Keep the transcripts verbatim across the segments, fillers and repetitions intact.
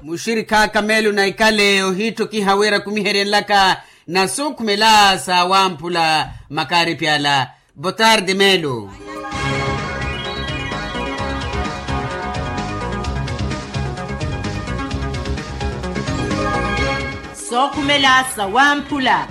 Muxirikha aka meelo na ikale ohiitthokiha wira kumiheryenlaka na sookhumela sa wamphula. Makaaripi ala. Botarde meelo. Sookhumela sa wamphula.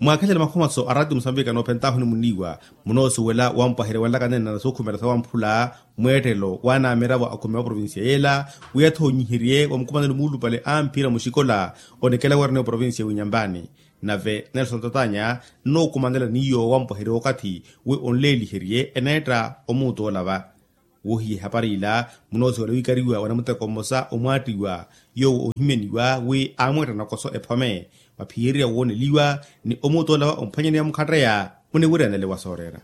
Mwaakhelele makhomaso a ratio musambika noophentaahu onimuniiwa. Munoosuwela wampwaherya wanlaka neene na sookhumela sa wamphula mweettelo waanamiravo akhumi a provincia yeela, wi athoonyiherye wa mukumanelo muulupale a mphira muxikola onikela wira ni oprovincia ya winyampani. Nave nelson tatanya nnookumanela ni yoowo wampwaherya okathi wi onleeliherye eneetta omuuta olava. Wohiya ehapari ila munoosiwela wiikariwa wa namuteko mmosa omwaattiwa yoowo oohimyaniwa wi aamweetta nakoso ephome. Mwaphiyererya wooneliwa ni omuuta olava omphwanyaneya mukhatteya muniwiryanele wa sooreera.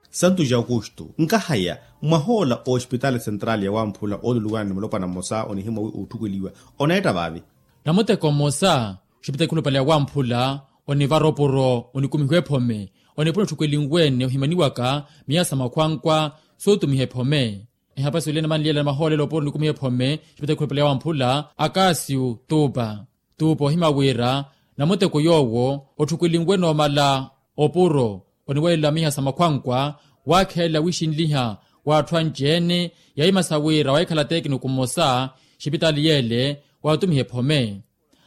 Santu ja aukustu nkahaya mwahoola oxipitaali sentrali ya wamphula ooluluwana ni mulopwana mmosa onihimwa wi ootthukweliwa oneetta vaavi. Namuteko mmosa oxipitaali khulupale ya wamphula onivara opuro onikumihiwa ephome onipuna otthukweliwene ohimaniwaka miya sa makhwankwa sootumiha ephome. Ehapasi olene manliyela na mahoolelo opuro onikumiha ephome oxipitaali khulupale ya wamphula akasiu tupa tupa ohima wira namuteko yoowo otthukweliwene omala opuro oniwelela miha sa makhwankwa waakhelela wixinliha w'atthu anci-ene yahimasa wira wahikhala tekiniku mmosa exipitaali yeele waatumiha ephome.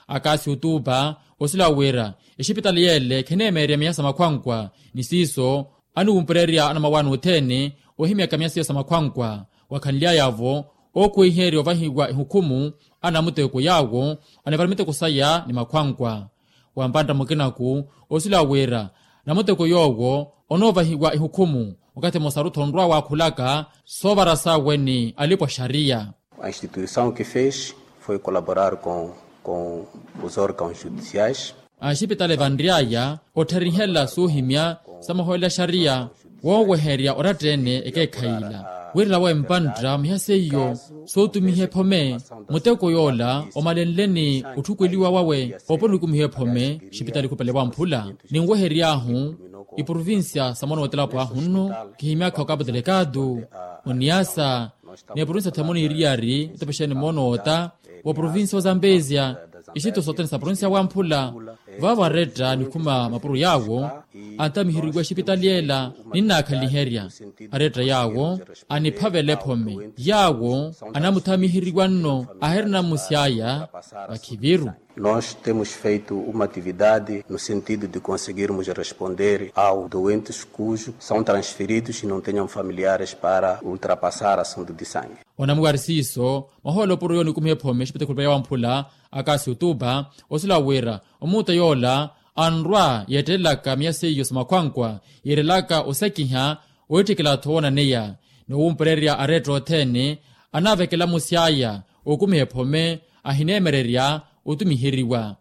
Akasi otuupa osila wira exipitaali yeele kheneemeerya miya sa makhwankwa ni siiso aniwumpererya anamawaani othene ohimyaka miya seiyo sa makhwankwa wakhanly'aya-vo ookhuweiherya ovahiwa ehukhumu a namuteko yaawo anivara miteko saya ni makhwankwa. Wa mpantta mukinaku osila wira namuteko yoowo onoovahiwa ehukhumu wakathi mmosa arutthu onrwa waakhulaka soovara sawe ni alipo a xariya. A instituição que fez foi colaborar com com os órgãos judiciais. Axipitali vanry'aya ottherihela soohimya sa mahoolelo a xariya wooweherya oratta-ene ekeekhayi ila wirela wawe mpantta miha seiyo sootumiha ephome muteko yoola omalenle ni otthukweliwa wawe opo onikumiha ephome exipitali khupale wamphula ninwehery'ahu iprovincia sa mwana wotelapo ahu nno kihimyaka okapo telekatu oniasa ni eprovincia themoni iriyari etepexeni moonoota wa provincia wa zambezia ixitto sothene sa provincia wamphula vaavo aretta nikhuma mapuro yaawo antamiheriwa exipitali ela ninnaakhanliherya aretta yaawo aniphavela ephome yaawo anamuthamiheriwa nno ahirina mmusi aya vakhiviru. Nós temos feito uma atividade no sentido de conseguirmos responder aos doentes cujo são transferidos e não tenham familiares para ultrapassar assunto de sangue. Onamwiwari siiso mwahoolo opuro yoonikumiha ephome exipitakhulupale ya wamphula akasi otupa osila wira omuuta yoola anrwa yeettelelaka miya seiyo sa makhwankwa yeerelaka osekiha oitthikela-tho woonaneya ni owumpererya aretta othene anaavekela amusi aya okumiha ephome ahineemererya otumiheriwa.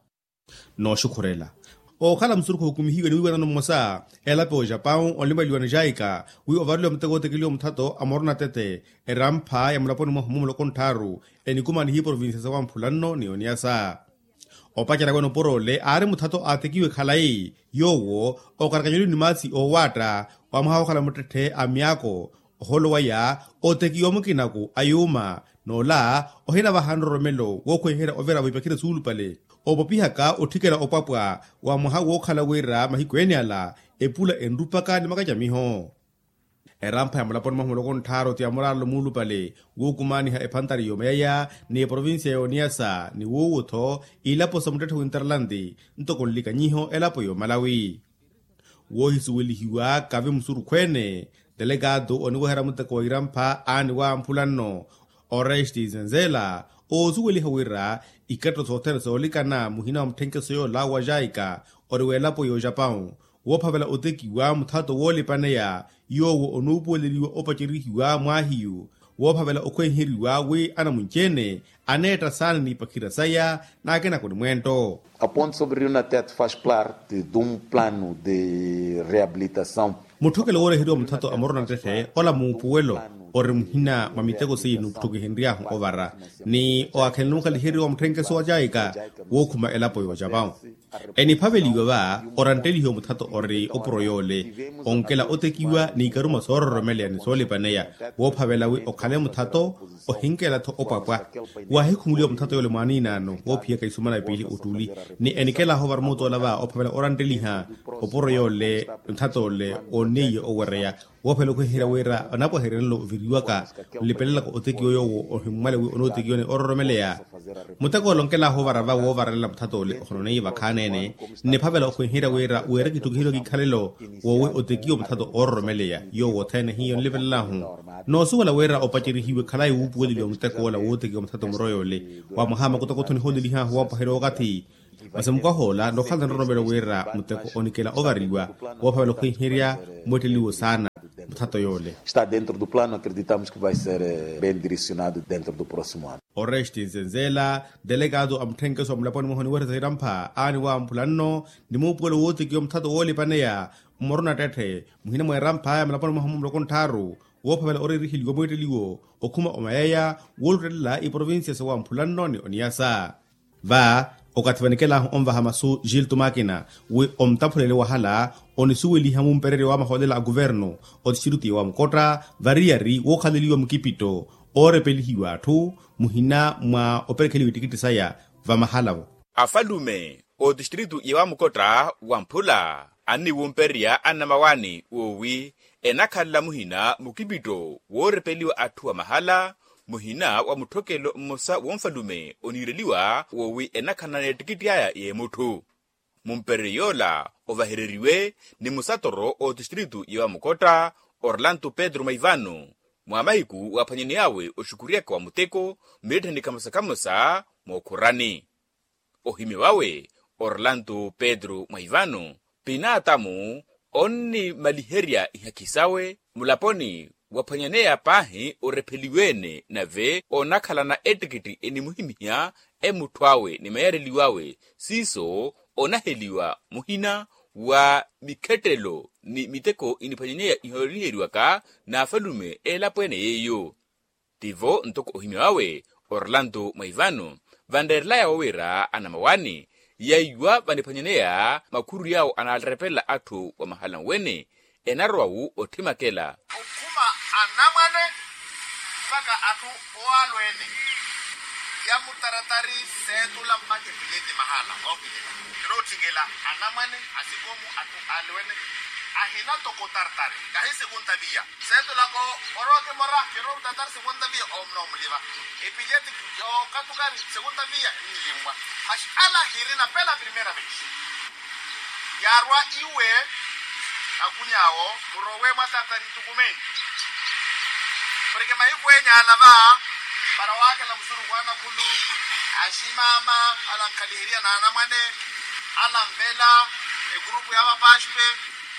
Nooxukhurela ookhala musurukhu ookumihiwe ni wiiwanano mmosa elapo ya ojapau onlimaliwa ni jaika wi ovareliwa muteko ootekeliwa muthato a morona tete erampha ya mulaponi mwahu mumuloko ntthaaru enikumanihiwe provincia sa wamphula nno ni oniasa. Opacerya wene opuro ole aari muthato aatekiwe khalayi yoowo okarakanyeliwe ni maasi oowaatta wa mwaha wookhala muttetthe a myaako ohoolo waya otekiwa mukinaku a yuuma n'ola ohinavaha nroromelo wookhweherya ovira vaipakhire suulupale opopihaka otthikela opwapwa wa mwaha wookhala wira mahiku ene ala epula enrupaka ni makacamiho. Erampha ya mulaponi mwahu muloko ntthaaru ti ya muraarelo muulupale wookumaaniha ephantari yoomayaya ni eprovincia ya oniyasa ni wuuwu-tho ilapo sa muttetthe winterlandi ntoko nlikanyiho elapo yoomalawi woohisuwelihiwa kavi musurukhu-ene. Telekaatu oniweherya muteko wa irampha aani wamphula nno oresti zenzela oosuweliha wira ikatto sothene soolikana muhina wa mutthenkeso yoola wa jaika ori w'elapo y'ojapau woophavela otekiwa muthato woolipaneya yoowo onuupuweleliwa opacerihiwa mwaahiyu woophavela okhwenheriwa wi anamunci-ene aneetta saana n'ipakhira saya n'akinako ni mweento. Aponto sobre rio natet faz parte de um plano de reabilitação. Mutthokelo wooreheriwa muthato a morona nttetthe ola muupuwelo ori muhina mwa miteko seiye nutthukihenry'ahu ovara ni owakhela numukhaliheriwa mutthenkeso wa caika wookhuma elapo yoocavawu. Eniphaveliwa va oranttelihiwa muthato ori opuro yoole onkela otekiwa n'ikaruma soororomeleya ni soolipaneya woophavela wi okhale muthato ohinkela-tho opwapwa. Waahikhumuliwa muthato yoole mwaaniinaano woophiyaka isumana piili ottuli ni enikelahu ovara muutoola va ophavela orantteliha opuro yoole muthato ole oonneiye owereya woophela okhweherya wira anapwaheryanelo oviriwaka nlipelelaka otekiwa yoowo ohimmwale wi onootekiwa ni ororomeleya. Muteko ole onkelahu ovara va woovaralela muthato ole ohononeiye vakhaanene nniphavela okhweherya wira wira kitthukihiwa kikhalelo woowi otekiwa muthato ororomeleya yoowo othene hiyo nlipelela-hu. Noosuwela wira opacerihiwe khalayi wuupuweleliwa muteko ola wootekiwa muthato muro yoole wa mwaha makutakutho nihoolelihahu woopaherya okathi. Masi mukwaha ola nokhala nroromelo wira muteko onikela ovariwa woophavela okhwiherya mweetteliwo saana muthato yoole. Está dentro do plano acreditamos que vai ser bem direcionado dentro do próximo ano. Oreste nzenzela delegado a mutthenkeso wa mulaponi mwahu oniweresa irampha aani wamphula nno ni muupuwelo wootekiwa muthato woolipaneya mmoroni attetthe muhina mwa eramph'aya mulaponi mwahu mumuloko nttharu woophavela oreeriheliwa mweetteliwo okhuma omayeya wooluttelela iprovincia sawamphula nno ni oniyasa. Va okathi vanikelahu onvaha masu gilto makina wi omtaphulele wahala onisuweliha mumpereryo wa mahoolela a kuvernu otistrito ya wamukotta variyari wookhaleliwa mukipitto oorepelihiwa atthu muhina mwa operekheliwa ittikitti saya vamahalavo. Afalume otistrito ya wamukotta wamphula anniwumpererya annamawaani woowi enakhalela muhina mukipitto woorepeliwa atthu vamahala muhina wa mutthokelo mmosa wonfalume oniireliwa woowi enakhanana ettikitti aya y'emutthu. Mumpereryo yoola ovahereriwe ni musatoro otistrito ya wamukotta orlanto pedro maivano mwa mahiku waaphwanyaney'awe oxukuryaka wa muteko mmirittheni kamosa kamosa mookhurani. Ohimya wawe orlanto pedro mwaivano pinatamu onnimaliherya ihakhi sawe mulaponi waphwanyaneya paahi orepheliwe-ene nave onakhalana ettikitti enimuhimiha emutthu awe ni mayareliw'awe siiso onaheliwa muhina wa mikhettelo ni miteko iniphwanyaneya ihooliheriwaka n'afalume eelapo ene yeiyo. Tivo ntoko ohimya wawe orlanto mwaivano vanreerelaya wowira anamawaani yaiwa vaniphwanyaneya makhuru yawo anaarepelela atthu wa mahala nwene enarowa wu otthimakela okhuma anamwane mpaka atthu owalweene. Yamutaratari seetula mpaka epileti mahala ookilila kirootthikela anamwane asikomu atthu alweene ahina toko tartari kahi sekunta viya. Seetulaka orooke mora kiroorutata ari sekunta viya omuliva epileti yookatukari sekunta viya nlimmwa. Masi ala hirina pela primera vesi yaarwa iwe akuny'awo murowe mwatatani tukumeni. Porke mahiku enya ala va para waakhela musuruku anakhulu aximaama ala nkhaliherya n'anamwane ala nvela egurupu ya vapaspe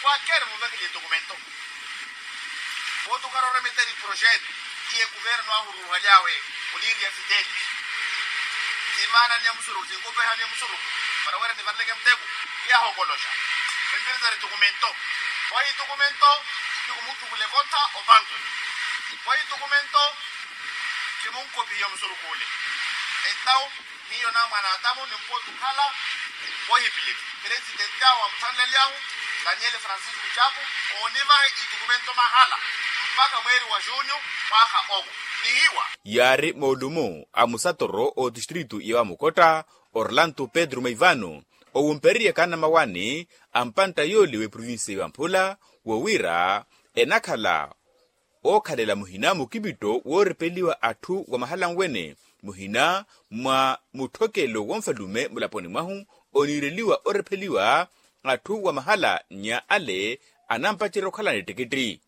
kwakeri muvekele etukumento. Votu karoremeteri projeto iye kuvernu ahuruhalyawe muniiri ya fiteti. Timaana ni ya musuruku tinkupeha ni ya musuruku para wira nivareleke muteku. Yahokoloxa mimpiritari tukumento. Vohi tukumento ni kumuttukula ekotha opantu. Vohi tukumento kimunkopihiwa musuruku ule. Entaw hiyo na mwanadamu ni mpotu khala wohipilili. Presidenti awo amuthanlelyahu daniel francisco chapo oonivahe itukumento mahala mpaka mweeri wa junyu mwaha owo. Nihiwa yaari moolumo a musatoro otistrito ya wamukotta orlanto pedro maivano owumpereryaka anamawaani a mpantta yoole w'eprovinsiya ya wamphula wowiira enakhala ookhalela muhina mukipitto woorepeliwa atthu wa mahala nwene muhina mwa mutthokelo wonfalume mulaponi mwahu oniireliwa orepheliwa atthu wa mahala nnya ale anampacerya okhalana ettikitti.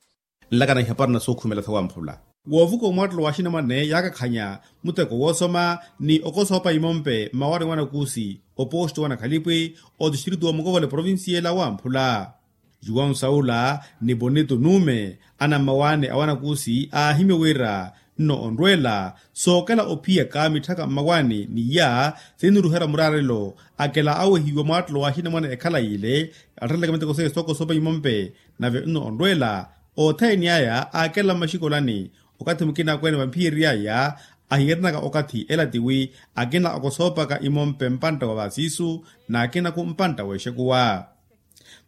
Nlakana ihapari na sookhumela sawamphula woovuka omwattelo wa axinamwane yaakakhanya muteko woosoma ni okosoopa imompe mmawaani wa nakuusi oposto wa nakhalipwi otistrito wa mukovole provinsiya ela wamphula. Juwau saula ni bonito nuume anammawaani a wanakuusi aahimya wira nno onrweela sookela ophiyaka mitthaka mmawaani ni iya siniruherya muraarelo akela awehiwa mwaattelo wa axinamwane ekhala yiile attalelaka miteko seiye sookosoopa imompe nave nno onrweela othene aya aakela mmaxikolani Okathi mukina akweene vamphiyeriy'aya ahiiranaka okathi ela tiwi akina okosoopaka imompe mpantta wa vasiisu n'akinaku mpantta w'exekuwa.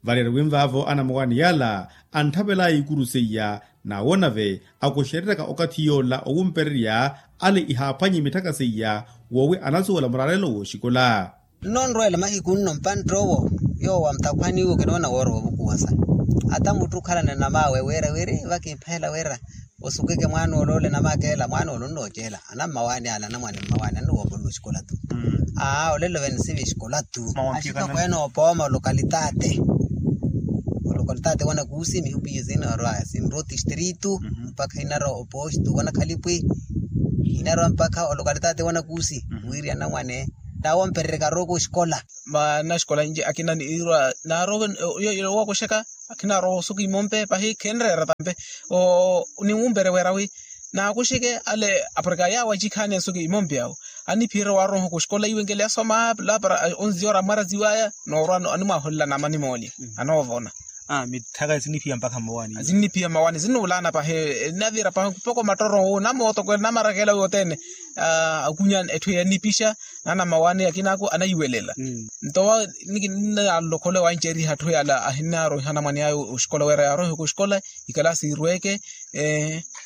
Valeriwi nvaavo anamawani yala antthavel'aya ikuru seiya n'awo nave akuxereryaka okathi yoola owumpererya ale ihaaphwanyi mitthaka seiya woowi anasuwela muralelo w'oxikola. Nno nrweela mahiku nno mpantt'owo yoowo amtakhwaniwe kinoona woora wovukuwasa. Ata mutthu okhalana namaawe wira wiri vakimpheela wira osukeke mwaana ole ole namakeela mwaana ole onnoocela anammawaani ale anamwaani mmawaani annuwoopolwa oxikola tu. Aa olelo vene sivi exikola tu. Axitokweene oopooma olokalitate olokalitate wanakuusi mihupiye sinarwa sinrwa otistritu mpakha inarwa opostu wanakhalipwi inarwa mpakha olokalitate wanakuusi. Wiiri anamwane naawompererya karooko oxikola. Maana xikola inci akina niirwa naarowe owokoxeka akhinaarowa osuka imompe pahi khenreera tampe. Niwumpere wera wi naakuxeke ale aporika yaawo acikhaani esuka imompe awo aniphiyerya waaroha oxikola iwe nkele asoma lapara onziora mwaraziwaya noorwa animwaaholela namani moolya anoovona. Mitthaka sinniphiya mpakha mmawaani sinniphiya mmawaani sinnuulaana pahi. Navira pahi mpoko mattoro namootokwela namarakela wothene. Akunya etthu yanipixa naana mmawaani akinaku anayiwelela. Nto wa nikinalokhole wancerya atthu yala ahinaaroiha anamwane aya oxikola wira yaaroiha oxikola ikalaasi irweke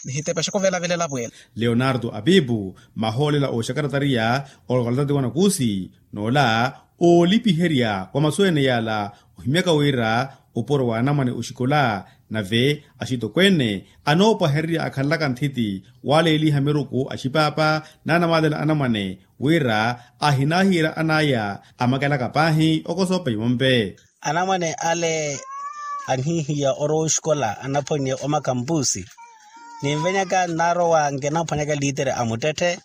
nihitepa xakovelavelela pwela. Leonardo apipu mahoolela oxakaratariya olokalitati wanakuusi n'ola oolipiherya wa masu ene yala ohimyaka wira opuro wa anamwane oxikola nave axitokweene anoopwahererya akhanlaka nthiti waaleeliha miruku axipaapa n'anamaalelo anamwane wira ahinaahiira an'aya amakelaka paahi okosoopa imompe. Anamwane ale anhihiya orowa oxikola anaphwanye omakampusi ninvenyaka nnarowa nkinaphwanyaka liitere a muttetthe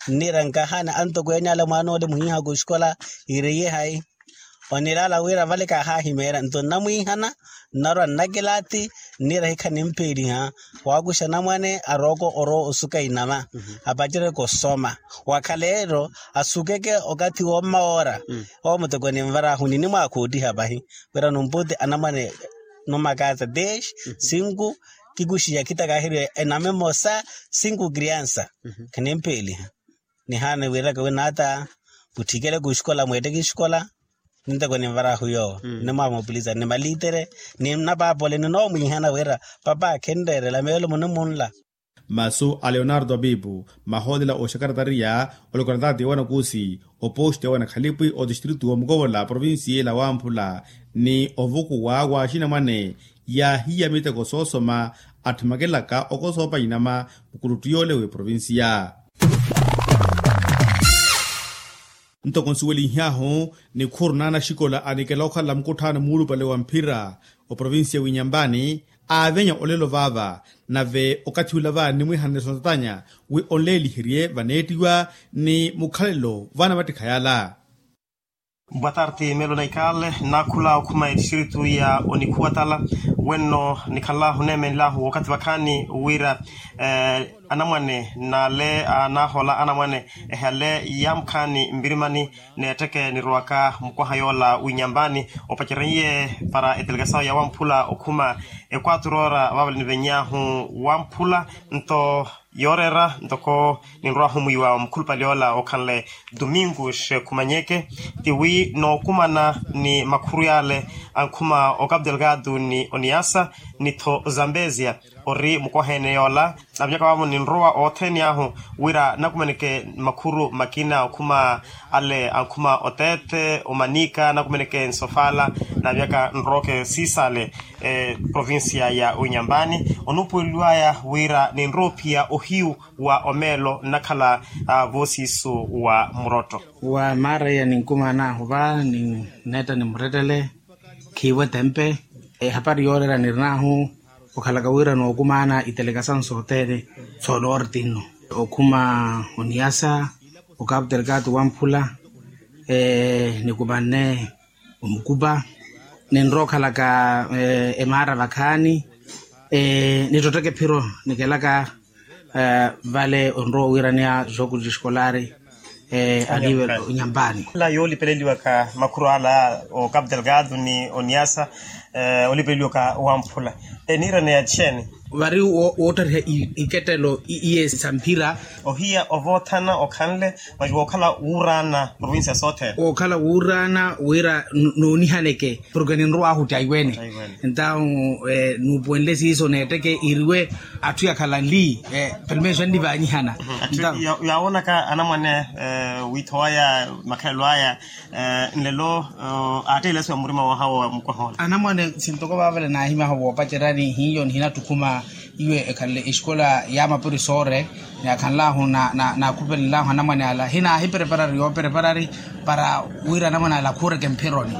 nniira nkahaani antokweene ale mwaana ole muhiihaka oxikola ireiye hayi. Onilaala wira vale kaahahimeerya nto nnamwiihana nnarwa nnakilati nniira hikha nimpeeliha waakuxa anamwane arooko orowa osuka inama apacereke osoma wakhaleelo asukeke okathi wommawoora. Owo muteko ninvaraahu ninimwaakhoottiha pahi wira numputi anamwane numakaasa desh sinku kikuxiya khitaka ahiriwe enama emosa sinku kriansa khanimpeeliha. Nihaana wiiraka wi naata mutthikele kuxikola mweetteke exikola ninteko ninvaraahu yoowo nimwamopulisa ni maliitere ni napaapole ninoomwiihana wira papa khinreerela meelo munimunla. Masu a leonardo apipu mahoolela oxakaratariya olokarataati wanakuusi oposti ya wanakhalipwi otistritu wa mukovola provincia ela wamphula ni ovukuwa wa axinamwane yaahiya miteko soosoma atthimakelaka okosoopa inama mukuluttu yoole w'eprovincia. Ntoko nsuwelinhyahu nikhuru n'anaxikola anikela okhalela mukutthaano muulupale wa mphira oprovincia w'inyampani aavenya olelo vaava nave okathi ula va nimwiihanele sontanya wi onleeliherye vaneettiwa ni mukhalelo vaanavattikha yala. Boa tarde meelo na ikale naakhula okhuma etistritu ya onikhuwatala wenno nikhanlahu neemenlahu wookathi vakhaani wira anamwane n'ale anaahola anamwane ehale yaamukhaani mpirimani neetteke nirowaka mukwaha yoola w'inyampani opacereiye para etelegasawu ya wamphula okhuma ekwaturora vaavale niveny'ahu wamphula nto yooreera ntoko ninrwaahu mwiiwa mukhulupale yoola okhanle domingo xekhumanyeke tiwi nookumana ni makhuru yaale ankhuma okapdelgado ni oniasa ni-tho zambezia ori mukwaha ene yoola naavinyaka vaavo ninrowa othene ahu wira nakumaneke makhuru makina okhuma ale ankhuma oteethe omanika nakumaneke nsofala naavinyaka nrooke siisale provincia ya oinyambani onuupuweliwaya wira ninrowa ophiya ohiyu wa omeelo nnakhala voosiisu wa murotto. Wa maaraiya ninkumaan'ahu va ninneetta ni murettele khiivo etempe ehapari yooreera nirin'ahu okhalaka wira nookumaana itelekasawu sothene soonorti nno okhuma oniyasa okapterkatu wamphula nikumanne omukupa ninrowa okhalaka emaara vakhaani nittotteke ephiro nikelaka vale onrowa owiiraneya jogo de eskolari aliwe onyampani. Yoolipeleliwaka makhuru ala o capital gado ni oniasa Olipeliwaka wamphula eniirana ya txeeni? Vari woottariha ikettelo iye sa mphira. Ohiya ovoothana okhanle masi wookhala wuuraana provincia sothene. Wookhala wuuraana wira noonihaneke porke ninrowa ahu taiwene. Entawu nuupuwenle siiso neetteke iriwe atthu yakhala nli. Pelo meeso annivaanyihana. Atthu yaawonaka anamwane wiitho waya makhalelo aya nlelo aatteela eso ya murima wahawo wa mukwahoola. Anamwane sintoko vaavale naahimaho voopacerani hiyo nihinattukhuma iwe ekhanle esikola ya mapurisoore. Ni akhanlahu naakhupelenlahu anamwane ala hinaahipreparari yoopreparari para wira anamwane ala akhuureke mphironi.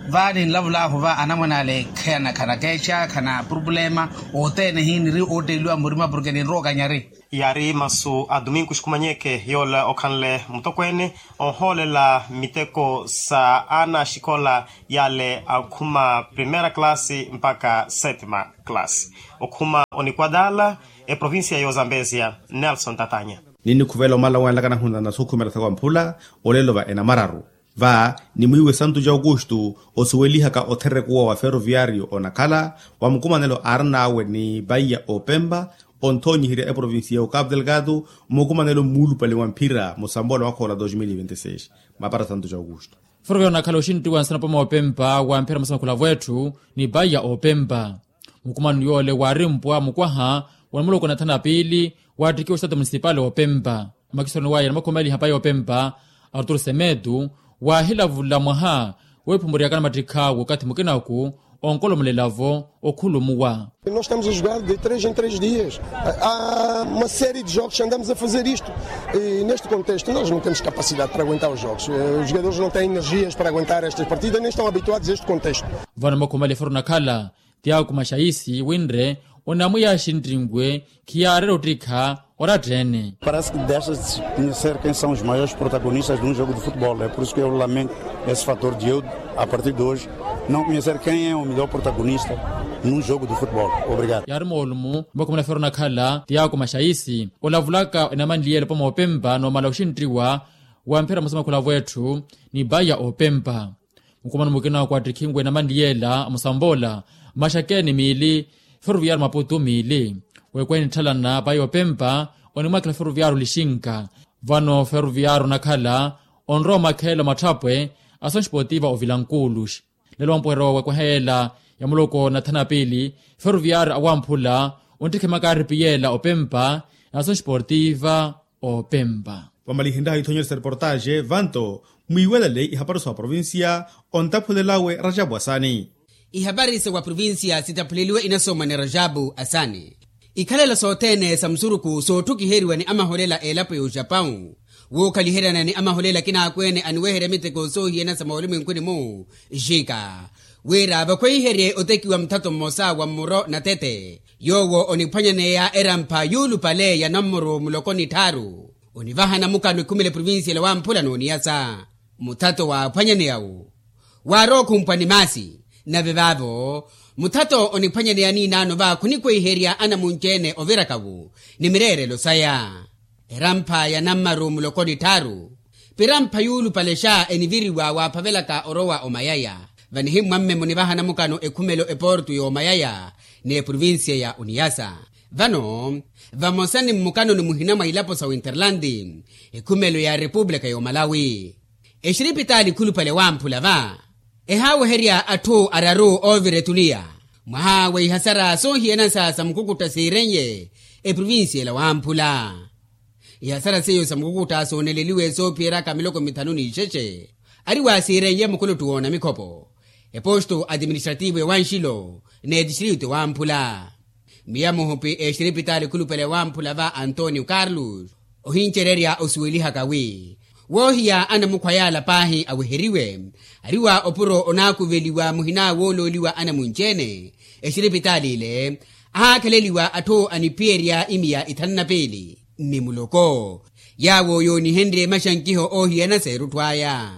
Vaani nlavulahu va anamwane ala ekhana khanakeexa khana purupulema othene hiiniri ootteeliwa murima porke ninrowa okanyari. Yaari masu a domingo xikumanyeke yoola okhanle mutokweene ohoolela miteko sa aana axikola yale akhuma primera classe mpaka settima classe okhuma onikwadala eprovincia y'ozambesia. Nelson tatanya. Ninnikhuvela omala owanlaka nahuna na sookhumela thawa mphula olelo va enamararu va nimwiiwe santu ja aukustu osuwelihaka otherekuwa wa ferroviario onakhala wa mukumanelo aarin'awe ni paiya opempa onthonyiherya eprovincia ya okapu delgado. Mukumanelo mmuulupale wa mphira musambola wakhoola dos mil e vinte e seis mapara santu ja aukustu. Ferroviario onakhala oxinttiwa nsana opama opempa wa mphira masa makhula vwetthu ni paiya opempa. Mukumano yoole waarimpwa mukwaha wa namuloko na thana piili waattikiwa oxitato munisipali opempa. Makisoni waya namakhumeeliha paiya opempa arturo semetu waahilavula mwaha weephumuryaka namattikha w'okathi mukinaku onkolomolelavo okhulumuwa. Nós temos a jogar de três em três dias. Há uma série de jogos que andamos a fazer isto. E neste contexto nós não temos capacidade para aguentar os jogos. Os jogadores não têm energias para aguentar estas partidas nem estão habituados a este contexto. Vano makhumeeliha ferro nakhala tiyaakumaxa iisi winre onamwiya axinttinwe khiyaareera ottikha. Oratta-ene. Parece que desta tinha ser quem são os maiores protagonistas de um jogo de futebol é por isso que eu lamento esse fator de eu a partir de hoje não conhecer quem é o melhor protagonista num jogo de futebol. Obrigado. Yaari moolumu vakhumela fero nakhala tiyaakumaxa iisi olavulaka enamanliyeela opama opempa noomala oxinttiwa wa mphira musa makhula vwetthu ni paiya opempa. Mukumano mukina wakwattikhinwe namanliyela musambola maxakeni miili feruviyaaru maputu miili. Wekwene nitthalana paiya opempa onimwakela feruviyaaru lixinka. Vano feruviyaaru nakhala onrowa omakheela omatthapwe asoxi potiva ovilankuuluxi. Lelo wampuherya wekweha yeela ya muloko nathana piili feruviyaaru awamphula onttikhe makaaripi yeela opempa na asoxi potiva opempa. Vamalihinlaha ithonyerisa reportaxe vanto mwiiwelele ihapari sa oprovincia ontaphulelawe rajapu asani. Ihapari sa waprovincia sitaphuleliwe inasoomwa ni rajapu asani. Ikhalela sothene sa musuruku sootthukkiheriwa ni amaholela a elapo ya oxapau wookhaliheryana ni amaholela akina akweene aniweherya miteko soohiyana sa moolumwenkuni-mu. Xika wira vakhweiherye otekiwa muthato mmosa wa mmuro natete yoowo oniphwanyaneya erampha yuulupale ya nammuru muloko ni tthaaru. Onivahana mukano ekhumela eprovincia ela wamphula n'oniyasa muthato waaphwanyaneya-wu waarowa okhumpwa ni maasi. Nave vaavo muthato oniphwanyaneya niinaano va khunikwehiherya anamunci-ene oviraka-wu ni mireerelo saya. Erampha ya nammaru muloko ni tthaaru pirampha yuulupalexa eniviriwa waaphavelaka orowa omayaya. Vanihimmwamme munivahana mukano ekhumelo eportu y'omayaya n'eprovincia ya oniyasa. Vano vamosa ni mmukanoni muhina mwa ilapo sa winterlandi ekhumelo ya repupulika y'omalawi exiripitaali khulupale wamphula va ehaaweherya atthu araru oovira etuliya mwaha wa ihasara soohiyana sa samukukutta siiren'ye eprovincia ela wamphula. Ihasara seiyo samukukutta sooneleliwe soophiyeraka miloko mithanu n'ixexe ari waasiiren'ye mukuluttu w'onamikhopo eposto administrativo ewanxilo n'etistritu ewamphula. Miya muhupi exiripitaali khulupale ewamphula va antonio carlos ohincererya osuwelihaka wi woohiya anamukhwa yaala paahi aweheriwe ari wa opuro onaakuveliwa muhina woolooliwa anamunci-ene exiripitaali ile ahaakheleliwa atthu aniphiyerya imiya ithanu na piili ni muloko yaawo yoonihenrye maxankiho oohiyana s'erutthu aya.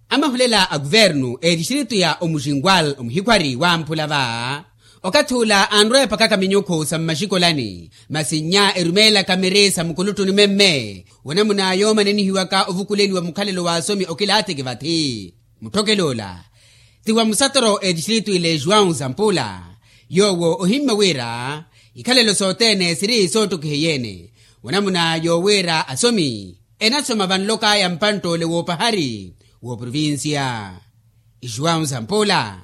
Amahulela a kuvernu etistritu ya omuxinkwal omuhikhwari wamphula va okathi ula anrowa epakaka minyukhu sa mmaxikolani masi nnya erumeelaka miri sa mukuluttuni mwemme wanamuna yoomanenihiwaka ovukuleliwa mukhalelo w'asomi okilaatiki vathi. Mutthokelo ola Ti wa musatoro etistritu ile juwau zampula, yoowo ohimmya wira ikhalelo sothene siri soottokiheyeene, wanamuna yoowiira asomi enasoma vanlok'aya mpantt'ole woopahari wooprovincia. Juwau zampula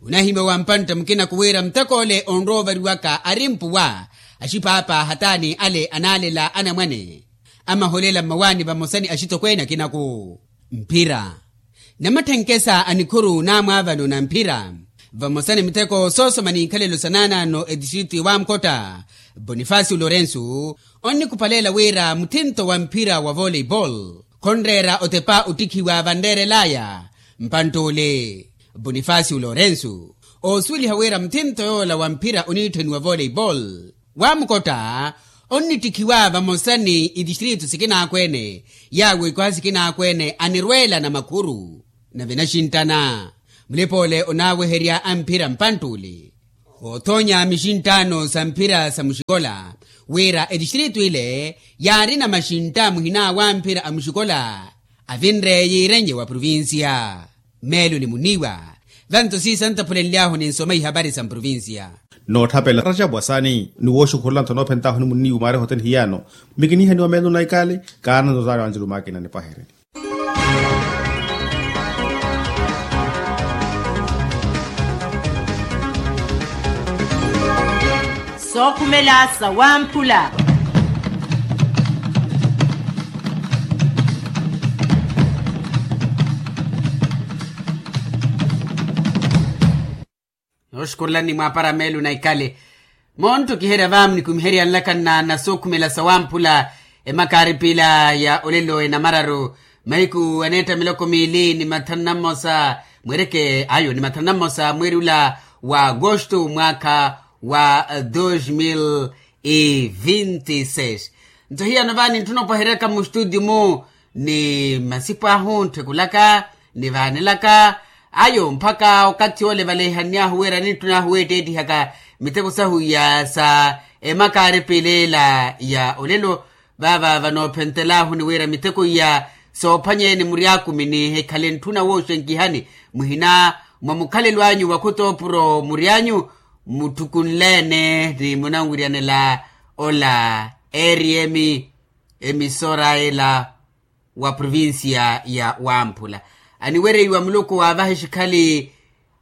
onahimya wa mpantta mukina kuwiira muteko ole onrowa ovariwaka ari mpuwa axipaapa hataani ale anaalela anamwane amaholela mmawaani vamosa ni axitokweene akinaku. Mphira namatthenkhesa a nikhuru naamwaavano na mphira vamosa ni miteko soosoma n'ikhalelo sa naanaano etistritu ya wamkotta, bonifacio lorenso onnikupaleela wira muthinto wa mphira wa voleibol khonreera otepa ottikhiwa vanreerel'aya. Mpantt'ole bonifacio lorenso oosuweliha wira muthinto yoola wa mphira oniitthaniwa voleibol, wamukotta onnittikhiwa vamosa ni itistritu sikinaakwene yaawo ikwaha sikinaakwene anirweela na makhuru. Nave naxinttana mulipa ole onaaweherya a mphira mpantt'ule othoonya mixinttaano sa mphira sa muxikola wira etistritu ile yaarina maxintta muhina wa mphira a muxikola avinre yiirenye wa provincia. Meelo ni muniiwa vanto siisa ntaphulenly'ahu ninsoma ihapari sa mprovincia. Nootthapela rajabu asani ni wooxukhurula ntho noophent'ahu ni muniiwa mwaari ehoteni hiyaano. Mikinihaniwa meelo na ikali kaana nto zaari wanjelu maakina nipahereni. Sookhumela sawamphula. Nooxukurulani mwaapara meelo na ikali montto kiherya va munikumiherya nlaka nna nasookhumela sawamphula. Emakaari piila ya olelo enamararu mahiku aneetta miloko miili ni mathanu na mmosa mweereke ayo ni mathanu na mmosa mweeri ula wa agosto mwaakha wa dos mil e vinte e seis. Nto hiyano vaani ntthuna opaheryaka mustutio mu ni masipo ahu ntthukulaka nivaanelaka ayo mpakha okathi ole valeihannyahu wira nintthun'ahu weetteettihaka miteko sahu iya sa emakaari piileela ya olelo. Vaava vanoophentel'ahu ni wira miteko iya soophwanyeene muryaakumini hikhale ntthuna wooxenkihani muhina mwa mukhalelo anyu wa khutoopuro mury'anyu mutthukunleene ni munanwiryanela ola. Eriyemi emisora ela wa provincia ya wamphula aniwereiwa muluku waavaha exikhali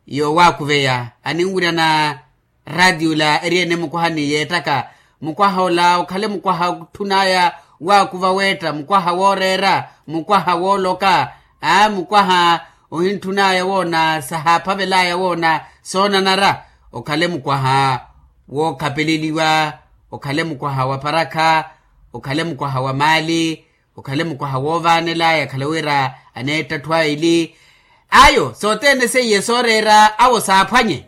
yowaakuveya aninwiryana ratio la eriyene mukwaha ni yeettaka mukwaha ola okhale mukwaha otthun'aya waakuva weetta mukwaha wooreera mukwaha wooloka aa mukwaha ohintthun'aya woona sahaaphavel'aya woona soonanara okhale mukwaha wookhapeleliwa okhale mukwaha wa parakha okhale mukwaha wa maali okhale mukwaha woovaanel'aya khale wira aneetta atthu aili ayo sothene seiye sooreera awo saaphwanye.